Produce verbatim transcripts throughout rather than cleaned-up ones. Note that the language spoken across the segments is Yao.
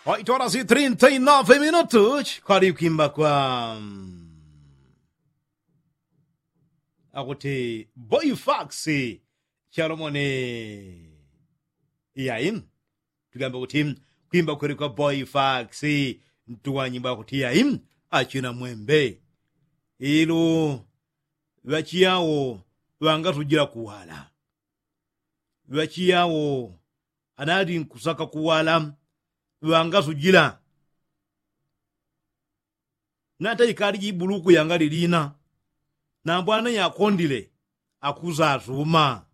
Oito horas e trinta e nove minutos kwali kwimba kwa akuti boifax chalomone. Iyayi, tugambe kuti kwimba kweli kwa boifax ntuwanyimba kuti iyayi, achina mwembe ilu ŵachiyawo ŵangatujila kuwala. Ŵachiyawo anali nkusaka kuwala ŵangasujila. Nata ikali jibuluku yangali lina, nambo ana yakondile akusasuma.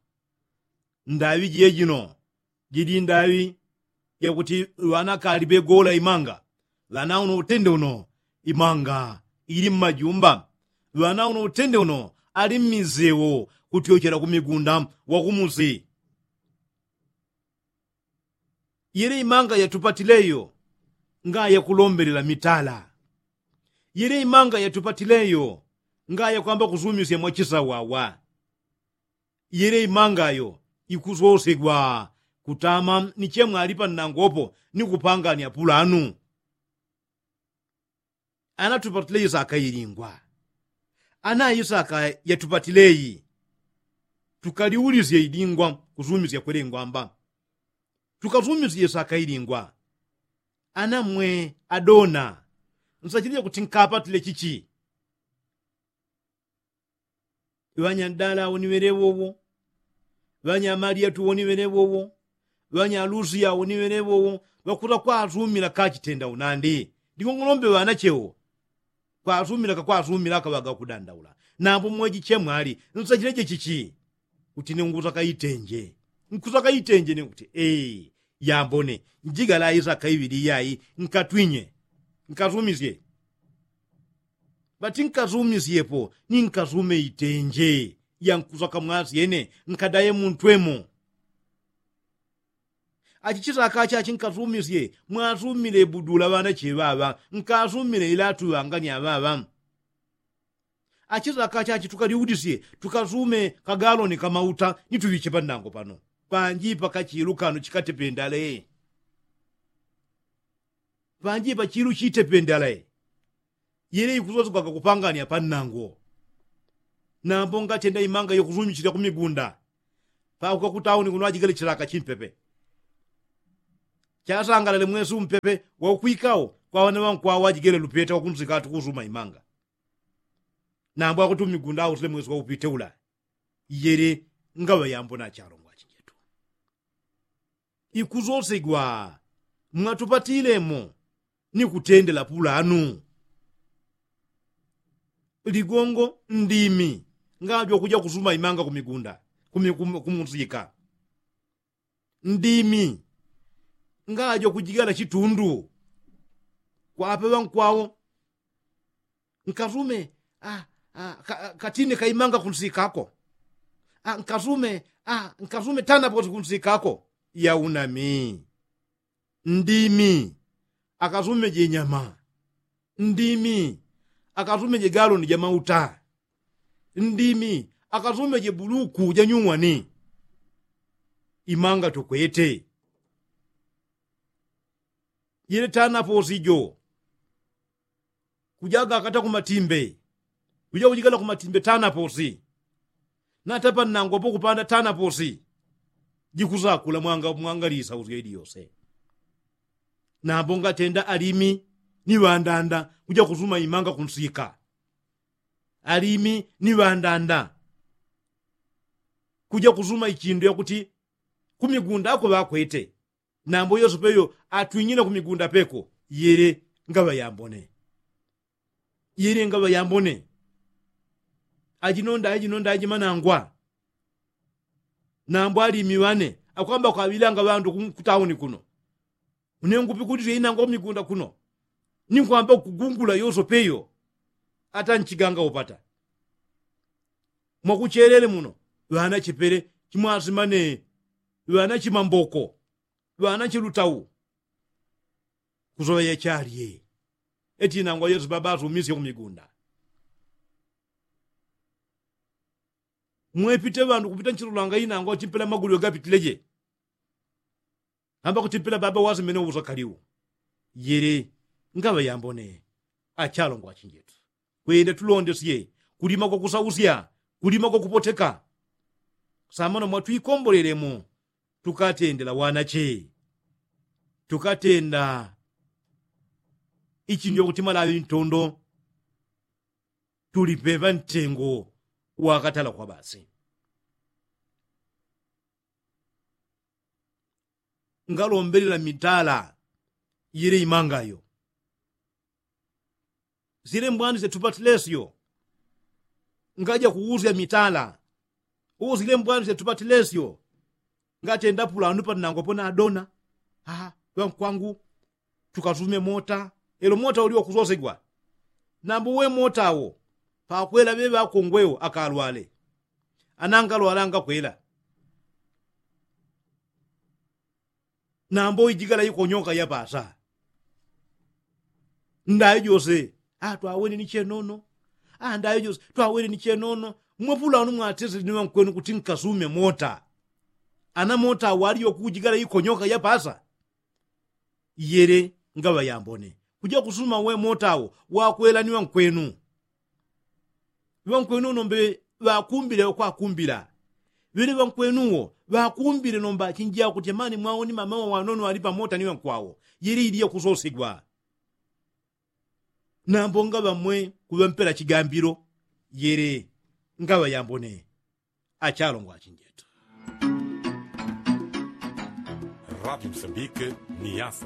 Ndaŵi jejino jili ndaŵi jakuti ŵana kali ŵegola imanga. Ŵana uno utende uno imanga ili mmajumba. Ŵana uno utende uno ali mmisewo kutyochela kumigunda wakumusi. Yele imanga yatupatileyo ngaya kulombelela mitala. Yele imanga yatupatileyo ngaya kwamba kusumisya mwachisawawa. Yele imangayo ikusosegwa kutama ni chemwali pannangopo ni kupangania pulanu. Anatupatile isaka ilingwa. Ana isaka yatupatileyi tukaliulisye ilingwa kusumisya kwelengwamba. Tukasumisye isaka ilingwa. Ana mwe adona nsachilile kuti nkapatile chichi? Ŵanya dala awo ni ŵeleŵowo. Ŵanya maliyatu wo ni ŵeleŵowo. Ŵanya lusiya wo ni ŵeleŵowo. Ŵakuta kwasumila kachitenda unandi. Ndikung'olombe ŵanachewo kwasumila kakwasumila akaŵaga kudandaula. Nambo mwejichemwali nsachileje chichi? Kuti ni nkusaka itenje. Nkusaka itenje ni kuti ee yambone njigala isaka iŵili iyayi nkatwinye nkasumisye. Ŵati nkasumisyepo ni nkasume itenje yankusaka mwasyene nkadaye muntwemo. Achichisaka achachi nkasumisye mwasumile budula ŵanache ŵaŵa nkasumile ilatu ŵangani aŵaŵa. Achisaka achachi tukaliulisye tukasume kagaloni kamauta ni tuŵiche pannango pano. Panji pakachilu kano chikatependale. Panji pachilu chitependale. Yele ikusosegwaga kupangania pannango. Nambo ngatenda imanga yokusumichilya kumigunda pakuka kutauni kuno ajigele chilaka chimpepe. Chasangalale mwesi umpepe waukwikao kwa ŵana ŵankwawo ajigele lupeta wakunsika atukusuma imanga. Nambo akuti umigunda ausile mwesi waupite ula. Yele ngaŵa yambo nachalongwa achinjetu ikusosegwa mwatupatilemo ni kutendela pulanu. Ligongo ndimi ngajwa kuja kusuma imanga kumigunda kumunsika. Ndimi ngajwa kujigala chitundu kwape ŵankwawo. Nkasume katine kaimanga kunsikako. Nkasume nkasume tanaposi kunsikako. Yaunami ndimi akasume jenyama. Ndimi akasume jegaloni jamauta. Ndimi akasume jebuluku janyuwani. Imanga tukwete yele tanaposi jo. Kujaga akata kumatimbe kuja kujigala kumatimbe tanaposi. Natapa nnangopo kupanda tanaposi jikusakula mwangalisa usya ili yose. Nambo ngatenda alimi ni ŵandanda kuja kusuma imanga kunsika. Alimi ni ŵandanda kuja kusuma ichindu yakuti kumigunda ako ŵakwete. Nambo yosepe yo atwing'ine kumigunda peko. Yele ngaŵa yambone. Yele ngaŵa yambone. Ajinonda ajinonda ajimanangwa. Nambo alimi ŵane akwamba kwaŵilanga ŵandu kutauni kuno. Une ngupikulile inangwa kumigunda kuno ni nkwamba kugungula yosepe yo. Ata nchiganga upata mwakuchelele muno ŵana chipele chimwasimane. Ŵana chimamboko ŵana chilutau. Kusoŵeya chalye eti inangwa yose baba asumisye kumigunda. Mwepite ŵandu kupita nchilulanga inangwa chimpela magulwe gapitileje. Amba kuti mpela baba wasimene uwusakaliwu. Yele ngaŵa yambone achalongwa achinjetu, kwenda tulondesye kulima kwakusausya, kulima kwakupoteka. Samano mwatwikombolelemo tukatendela wanache, tukatenda ichinjwa kuti malaŵi ntondo tulipeŵa ntengo wakatala kwa basi. Ngalombelela mitala yele imangayo. Silembwani syatupatilesyo ngaja kuusya mitala. Usilembwani syatupatilesyo ngatenda pulanu panangwa pona adona. Aa, ŵankwangu tukasume mota. Elo mota ulio kusosegwa nambo we mota wo pakwela ŵeŵakongwewo akalwale anangalwala ngakwela. Nambo ijigala ikonyoka yapasa ndayo jose. Atwawene ni chenono. Andayo jose twawene ni chenono. Mwapula wanu mwatesele ni ŵankwenu kuti nkasume mota. Ana mota waliyo kujigala ikonyoka yapasa. Yele ngaŵa yambone kuja kusuma we mota wo wakwela ni ŵankwenu. Ŵankwenu nombe ŵakumbile ŵakwakumbila. Ŵele ŵankwenu wo ŵakumbile nomba chinjia kuti amani mwawo ni mama wa wanono ali pamota ni ŵankwawo. Yele iliya kusosegwa. Nambo ngaŵa mwe kuŵampela chigambilo. Yele ngaŵa yambone achalongwa achinjetu. Rati msambike ni yasa.